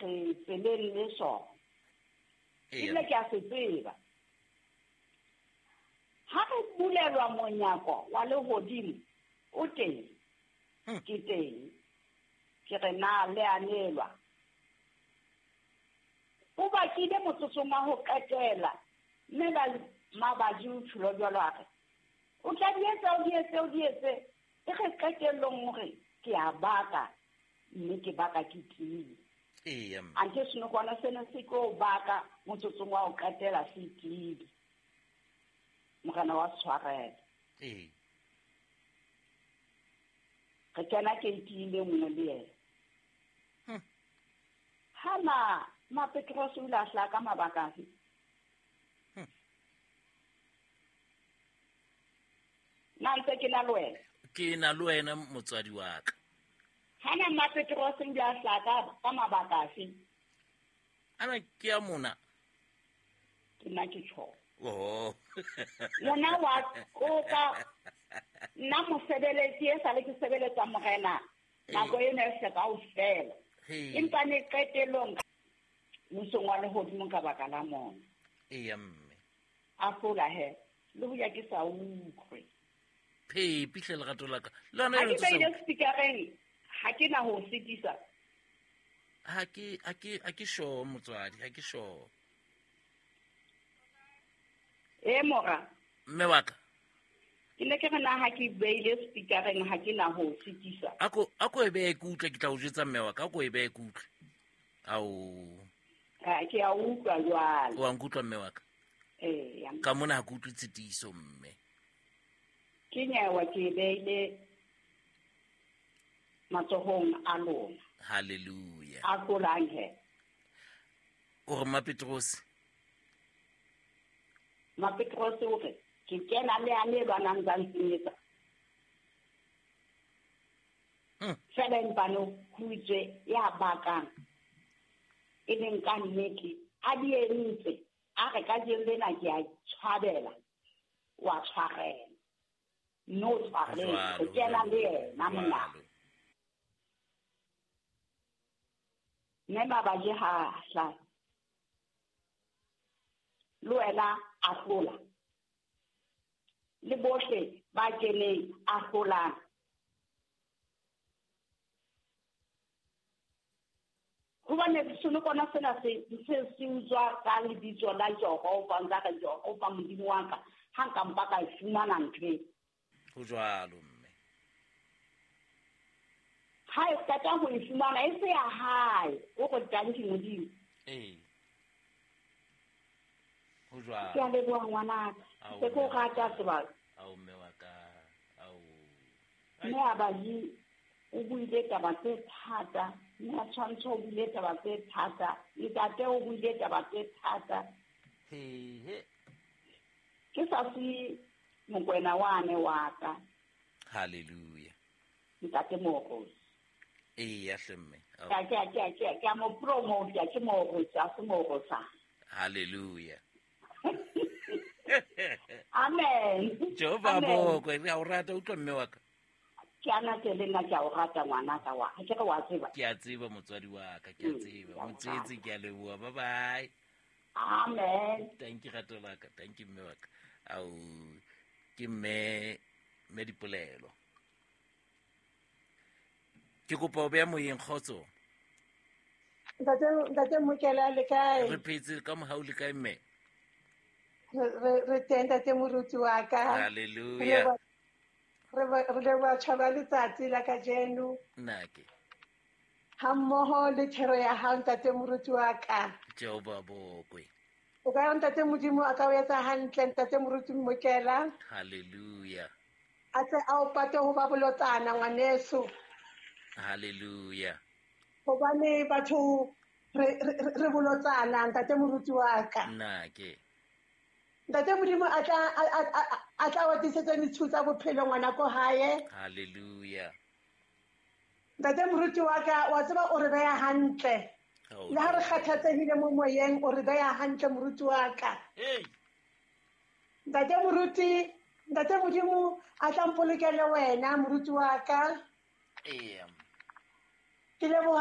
Re tseleng le sona. Ebile ke a se tseba. Ha re bulelwa monyako wa lehodimo, o teng. Ke teng. Ke re na le a nelwa. O bakile motsotsong wa ho qetela, mme ba mabaji o tjholo jwalo a re, o tla di etsa, o di etse, o di etse. E re qetellong hore ke a baka, mme ke baka ke tiile. Anthe senokwane sena se tlo baka motsotsong wa ho qetela se tiile. Morena wa tshwarela. Re kena keiting e nngwe le yena. Ha ma Petrose o ile a hlaha ka mabaka afe? Na ntse ke na le wena? Ke na le wena motswadi wa ka. Ha na ma Petrose o ile a hlaha ka mabaka afe? Ana ke ya mona. Ke nna ke tjho. Oh. Mona wa koka nna mosebeletsi e sale ke sebeletsa morena nako ena e se kaofela. Empa ne qetellong mmusong wa lehodimo ka baka la mona. Eya mme. A hlola he le hoja ke sa utlwe. Phepi hle lerato la ka. Le yona Ha ke beile speakereng ha ke na ho sitisa. Ha ke sure motswadi, ha ke sure. E mora. Mme wa ka. Ke ne ke re na ha ke beile speakereng ha ke na ho sitisa. Ako e behe ke utlwe, ke tla o jwetsa mme wa ka, ako e behe ke utlwe. Ao. Ke a utlwa jwale. O a nkutlwa mme wa ka? Ee. Ka mona ha ke utlwe tshitiso mme. Ke nyewa ke beile matsohong a lona. Hallelujah. A tlolang he. O re Mma Petrose. Mma Petrose o re ke kena le ane lwanang tsa nsenyetsa. Fela empa no ho itswe ya bakang e leng ka nnete a di entse a re ka jeng lena ke a tshwabela wa tshwarela no tshwarela o kena le yena mona mme mabaji ha hla le wena a hlola le bohle ba keneng a hlolang. Hobane senokwana sena se se utswa ka lebitso la Jehova, nka re Jehova Modimo wa ka, ha nka mpa ka e fumana ntho e. Ho jwalo mme. Ha e qeta ho e fumana e se ya hae, o re tanki Modimo. Ee. Ho jwalo. Ke a leboha ngwanaka. Se ke o rata sebaka. Ao mme wa ka. Ao. Mme a baji o buile taba tse thata, mme a tshwantsho o buile taba tse thata, ntate o buile taba tse thata. He. Ke sa se mokwena wane wa ka. Hallelujah. Ntate Moorosi. Eya hle mme. Ke a mo promote, ke Moorosi, a se Moorosa. Hallelujah. Amen. Jehova bokwe, re a o rata utlwa mme wa ka. Ke ana ke le nna ke a o rata ngwanaka wa. Ke re wa tseba. Ke a tseba motswadi wa ka, ke a tseba. Motswetse ke a leboha. Bye bye. Amen. Thank you rato la ka, thank you mme wa ka. Ao ke mme Dipolelo. Ke kopa o beya moyeng kgotso. Ntate Mokela le kae? Re phetse ka mohau le kae mme? Re teng ntate moruti wa ka. Hallelujah. Re leboha tjhaba letsatsi la kajeno. Nake. Ha mmoho le thero ya hao ntate moruti wa ka. Jehova bokwe. O ka ntate Modimo a ka o etsa hantle ntate moruti Mokela. Hallelujah. A tle a o pate ho ba bolotsana ngwaneso. Hallelujah. Hobane batho re bolotsana ntate moruti wa ka. Nake. Ntate Modimo a tla wa tiisetsa ditshiu tsa bophelo ngwana ko hae. Hallelujah. Ntate moruti wa ka wa tseba o re beya hantle. Le ha re kgathatsehile mo moyeng o re beya hantle moruti wa ka. Hey. Ntate moruti, ntate Modimo a tla mpolokele wena moruti wa ka. Ee. Ke leboha.